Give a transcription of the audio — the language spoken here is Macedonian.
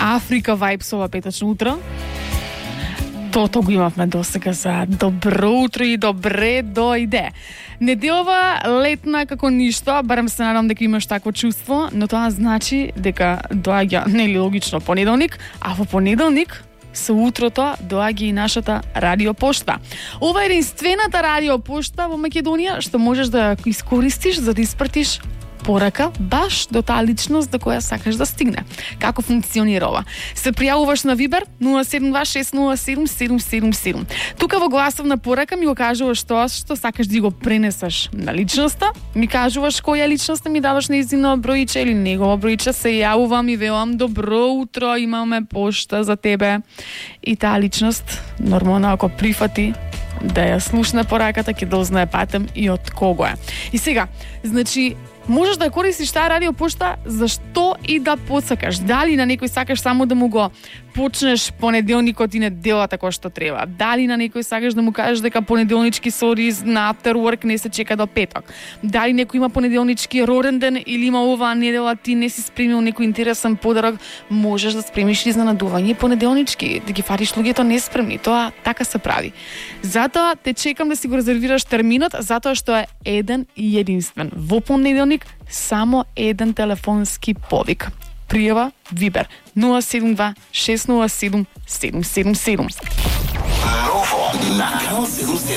Африка Vibes ова петочно утро. Тото го имавме досега за добро утро и добре дојде. Неделова летна како ништо, барем се надам дека имаш такво чувство, но тоа значи дека доаѓа нели логично понеделник, а во понеделник со утрото доаѓа и нашата радиопошта. Ова е единствената радиопошта во Македонија што можеш да искористиш за да испратиш порака баш до таа личност до која сакаш да стигне. Како функционира ова? Се пријавуваш на Вибер 072-607-777. Тука во гласовна порака ми го кажуваш тоа што сакаш да го пренесеш на личноста, ми кажуваш која личност ми даваш нејзино бројче или негово бројче, се јавувам и велам добро утро, имаме пошта за тебе. И таа личност нормално ако прифати да ја слушне пораката, ќе дознае патем и од кого е. И сега, значи можеш да ја користиш таа радиопошта за што и да посакаш. Дали на некој сакаш само да му го почнеш понеделникот и неделата кој што треба. Дали на некој сакаш да му кажеш дека понеделнички сорис на after work не се чека до петок. Дали некој има понеделнички роден ден или има оваа недела ти не си спремил некој интересен подарок, можеш да спремиш изненадување понеделнички, да ги фатиш луѓето неспремни. Тоа така се прави. Затоа те чекам да си го резервираш терминот, затоа што е еден и единствен. Во понеделник само еден телефонски повик. Пријава Вибер 072-607-777. Ново на Канал 77.